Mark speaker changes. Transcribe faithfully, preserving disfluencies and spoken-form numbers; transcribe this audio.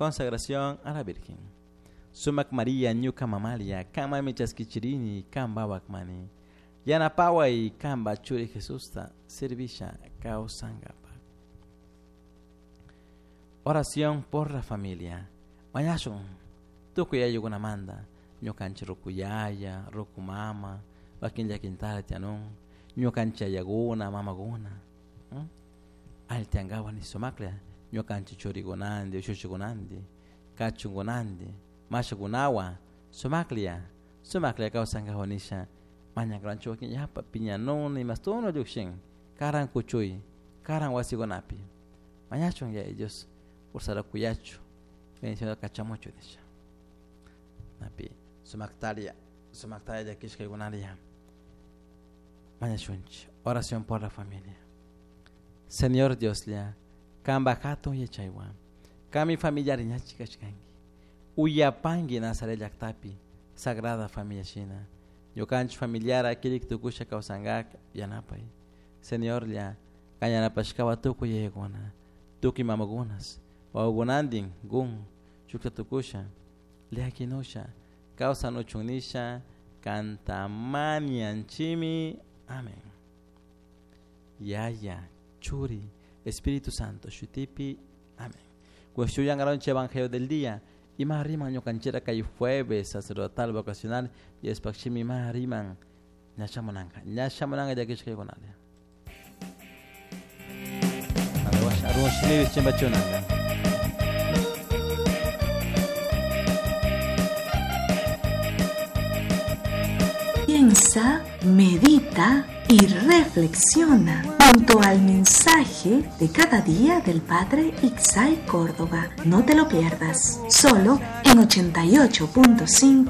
Speaker 1: Consagración a la Virgen. Sumac María ñuka mamalia, kanmami chaskichirini, kan mani. Yanapaway kanpa churi Jesusta servisha kawsankapa. Oración por la familia. Mañashun tukuy ayllukunamanta ñukanchik rukuyaya, rukumama, wakin llakintara tiyanun, ñukanchik ayakuna, mamakuna. Alli tiyankapak ni sumaklla ñukanchik churikunanti, ushuchikunanti, kachunkunanti, mashakunawan sumaklla, sumaklla kawsankapak nisha mañakuranchik wakin yapa piñanuni imastuna llukshin karan kuchuy, karan wasikunapi. Mañachun Yaya Dios fuerzata kuyachu, bendición kachamuchu nisha. Napi sumaktaria, sumaktaria llakishkaykunaria. Mañashunchik. Oración por la familia. Señor Dioslla, kanpa hatun yachaywan, kanmi familiar ñachi kashkanki. Uyapanki Nazaret llaktapi, Sagrada Familia shina. Ñukanchik familiar kirik tukusha kawsankak yanapay. Señorlla, kan yanapashkawa tukuy yayakuna, tukuy mamakunas, wawakunantin gun, shukta tukusha, llakinusha, kawsanuchun nisha, kantamanianchimi. Amén. Yaya, Churi, Espíritu Santo, shutipi. Amén. Cuestión Evangelio del día. Ima riman ñukanchira kay jueves sacerdotal vocacional y espakshimi ima riman ñashamunanka. Ñashamunanka llakishkaykunalla. Arun shimibi chimbachunanka.
Speaker 2: Piensa, medita y reflexiona junto al mensaje de cada día del Padre Ixay Córdoba. No te lo pierdas, solo en ochenta y ocho punto cinco